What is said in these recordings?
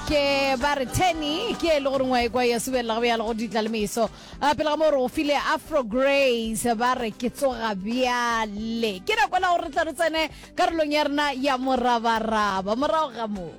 Ke ba re Tenny ke e le gore ngwa ekwa ya subelela go bjalo go ditla le meso. A pele ga mo re go file Afro Grace ba re ke tsoga bjale. Ke nako la gore re tla re tsene karolong ya rena ya morabaraba morago ga mo.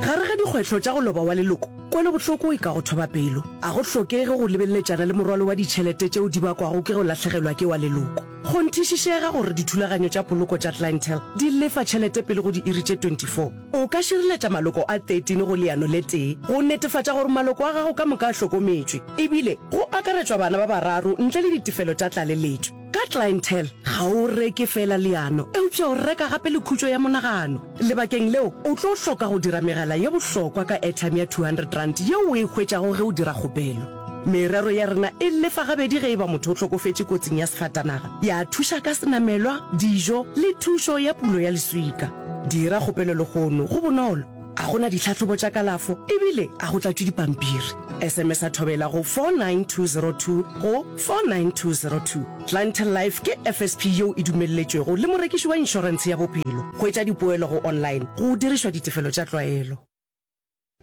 Gare ga dikgwetlho tša go loba wa leloko, kwelobohloko e ka go thoba pelo. A go hlokege go lebeleletšana le morwalo wa ditšhelete tšeo di bakwago ke go lahlegelwa ke wa leloko. Kgonthišišega gore dithulaganyo tša poloko tša Clientele di lefa tšhelete pele go diiri tše 24. O ka šireletša maloko a 13 go leano le tee go netefatša gore maloko a gago ka moka a hlokometšwe, ebile go akaretšwa bana ba bararo ntle le ditefelo tša tlaleletšo. Ka Clientele, ga o reke feela leano, eupša o reka gape le khutšo ya monagano. Lebakeng leo, o tlo hloka go dira megala ye bohlokwa ka airtime ya R200 yeo o e hwetšago ge o dira kgopelo. Merero ya rena e lefa gabedi ge e ba motho o hlokofetše kotsing ya sefatanaga, ya thuša ka senamelwa, dijo le thušo ya pulo ya leswika. Dira kgopelo lehono, go bonolo, ga go na ditlhahlobo tša kalafo ebile ga go tlatšwe dipampiri. SMS-a Thobela go 49202 go 49202. Clientele Life ke FSP yeo e dumelletšwego le morekiši wa inšorentshe ya bophelo. Hwetša dipoelo go online go dirišwa ditefelo tša tlwaelo.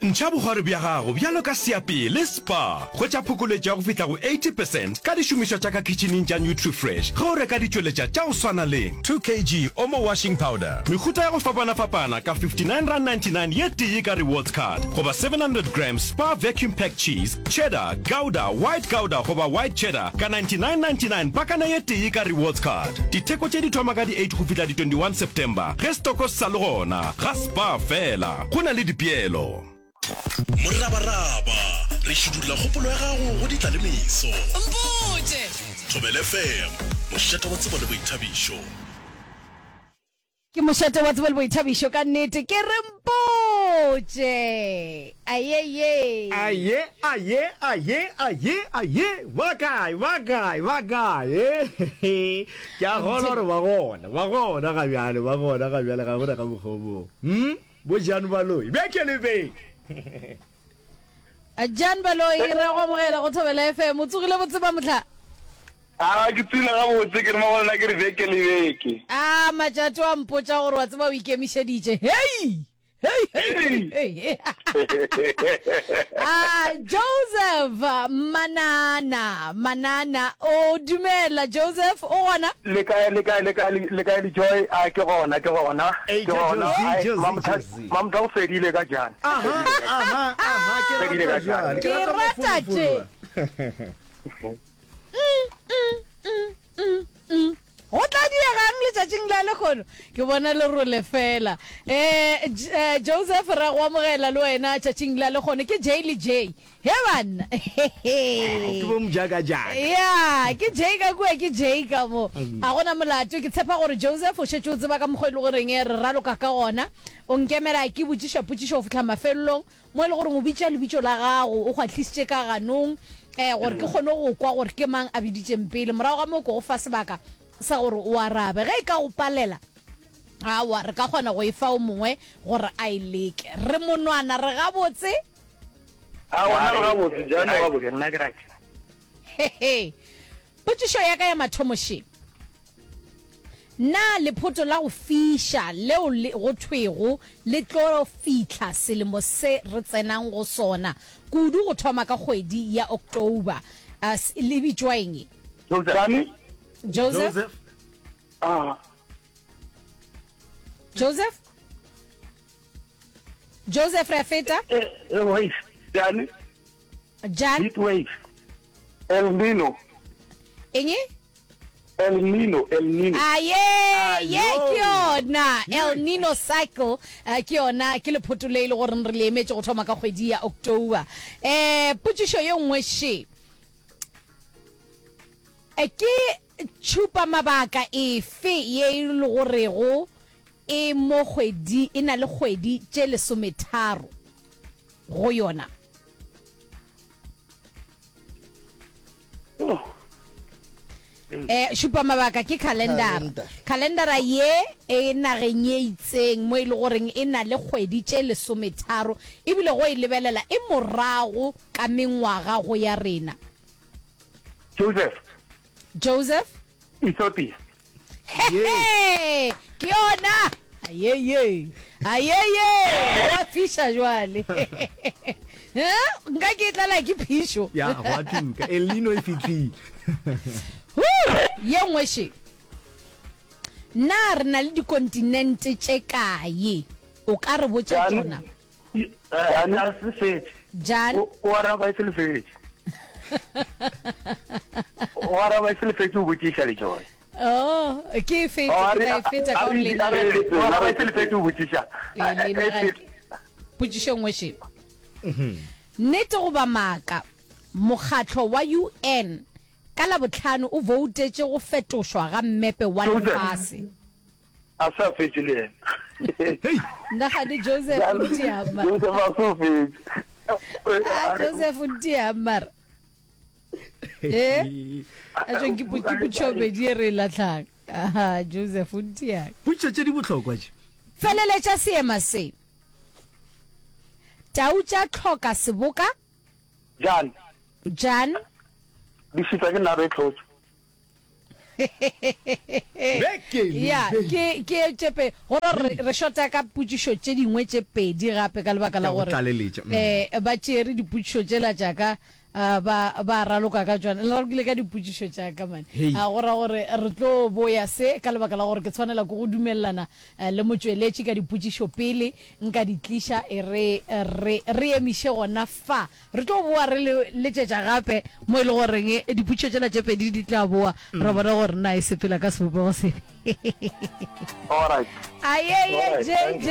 Ntšha bokgwari bja gago bjalo ka seapee le Spar. Hwetša phokoletšo ya go fihla go 80 percent ka dišomišwa tša ka khitšhining tša Nutrifresh ge o reka ditšweletša tša go swana le. 2 kg Omo washing powder, mehuta ya go fapanafapana ka R59.99 ye tee ka rewards card, goba 700 grams Spar vacuum packed cheese, cheddar, gouda, white gouda goba white cheddar ka R99.99 pakana ye tee ka rewards card. Ditheko tše di thoma ka di 8 go fihla di 21 September ge stoko se sa le gona ga Spar fela. Go na le dipeelo. Morabaraba, re šidulla kgopolo ya gago go ditlalemeso. Mpotše! Thobela FM, mošate wa tsebo le boithabišo. Ke mošate wa tsebo le boithabišo ka nnete. Ke re mpotše! Ayeye! Aye, aye, aye, aye, aye, ba kae, ba kae, ba kae? Ke a kgolwa gore ba gona, ba gona ga bjale, ba gona ga bjale, ga gona ka mokgwa o mongwe. Hmm? Bo Jan Baloyi, beke le beke. Jan Baloyi, re a go amogela go Thobela FM. O tsogile botse ba mohla? A ke tsogile gabotse, ke re mo go lena ke re beke le beke. A Matšato a mpotša gore wa tseba o ikemišeditše. Hei! Hei, hei, hei, hei. Ah, Joseph Manana, Manana, o dumela Joseph, o gona? Le kae, le kae, le kae, le kae le Joy? A ke gona, ke gona, Ei, ke gona. Josie, Ai, Josie, Mamtha, Josie. Mamtha o fedile ka jana. Aha, aha, aha, ke Fedile rata ka jana. jwale, ke Ke rata rata tše. mafolofolo. Mm, mm, mm, mm, mm. Go tla diegang letšatšing la lehono? Ke bona lerole fela. Eh, eh, Joseph, ra go amogela le wena tšatšing la lehono. Ke J le J. He banna. Ke bo mojaka-jaka. Ya, ke J ka kua, ke J ka mo. A gona molato. Ke tshepa gore Joseph o šetše o tseba ka mokgwa e le goreng re raloka ka gona. O nkemela ke botšiša potšišo go fihla mafelelong. Mo e le goreng o bitša lebitso la gago, o kgwahlisitše ka ganong, eh, gore ke kgone go kwa gore ke mang a biditšeng pele. Morago ga moo ke go fa sebaka sa gore o arabe. Ge e ka go palela, aowa, re ka kgona go e fa o mongwe gore a e leke. Re monwana, re gabotse? Aowa, nna re gabotse, Jan o gabotse. Nna ke right. Hehe. Potšišo ya ka ya mathomo še. Na lephoto la go fiša leo le go thwego le tlo fihla selemo se re tsenang go sona, kudu go thoma ka kgwedi ya October, le bitšwa eng? Joseph. Joseph. Ah. Joseph. Joseph re a feta. Eh, eh, wait. Jan. Jan. Heat wave. El Nino. Eng? El Nino, El Nino. Aye, ye ke yona El Nino cycle, eh, ke yona ke lephoto le e le goreng re le emetše go thoma ka kgwedi ya October. Eh, potšišo ye nngwe še. Eh, ke tšhupa mabaka efe ye e le gorego e mo kgwedi e na le kgwedi tše lesometharo go yona? Eh, šupa mabaka ke khalendara. Khalendara ye e nageng ye itseng mo e le goreng e na le kgwedi tše lesometharo ebile go e lebelela e morago ka mengwaga go ya rena. Joseph. Joseph. Ethiopia. Hehe, ke yona. Ayeye. Ayeye. Wa fiša jwale. Eh, nka ke tlala ke phišo. Ya, gwa tuka. El Nino e fihlile. Huu, ye nngwe še. Na re na le dikontinente tše kae? O ka re botša tšona? Jan a se fetše. Jan. O araba e se le fetše. O araba e se le fetše o botšiša le Joy. Oh, ke e fetše, ke tla e fetša ka gore lena. O araba e se le fetše o botšiša. Potšišo nngwe še. Nnete goba maaka, mokgatlo wa UN ka Labohlano o voutetše go fetošwa ga mmepe wa lefase. A sa fetše le yena. Nagane Joseph o ntia mara. Joseph a so fetše. Ah, Joseph o ntia mara. Eh? A tšo ke ke potšobedi e re e latlhang. Aha, Joseph o ntia. Potšišo tše di bohlokwa tše. Feleletša seema se. Tau tša tlhoka seboka. Jan. Jan. Di šitwa ke nare e tlhotšwe. Ya, ke ke tše gore re re shota ka potšišo tše dingwe tše pedi gape ka lebaka la gore eh ba tšere dipotšišo tšela tša ka ba ba raloka ka tšona. Le ralokile ka dipotšišo tša ka man. A go ra gore re tlo boya se ka lebaka la gore ke tshwanela ke go dumelelana le motšweletši ka dipotšišo pele nka di tliša e re re re emiše gona fa. Re tlo boa re le letšetša gape mo e le goreng dipotšišo tšela tše pedi di tla boa, ra bona gore na e sepela ka sebopego sefe. Alright. Ayeye Alright, thank JJ.